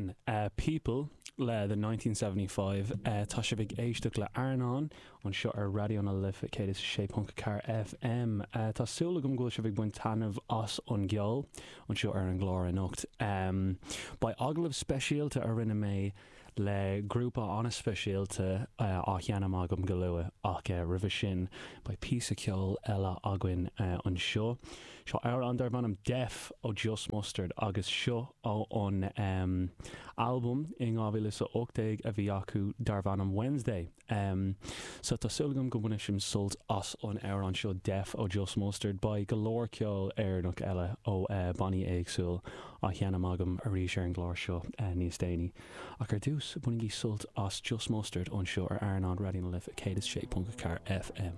Sin People le The 1975. Tá sibh ag éisteacht le Airneán anseo ar Raidió na Life 106.4 FM. Tá súil agam go bhfuil sibh ag baint taitneamh as an gceol anseo ar an gclár anocht. Beidh agallamh speisialta a rinne mé le grúpa an-speisialta á sheinm agam go luath ach roimhe sin beidh píosa ceoil eile againn anseo. Seo amhrán darb ainm Deaf ó Just Mustard agus seo ó an albam in 2018 a bhí acu darb ainm Wednesday. So tá súil agam go mbainfidh sibh sult as an amhrán seo Deaf ó Just Mustard. Beidh go leor ceol Éireannach eile ó bannaí éagsúil á sheinm agam arís ar an gclár seo níos déanaí. Ach ar dtús, bainigí sult as Just Mustard anseo ar Airneán Raidió na Life 106.4 FM.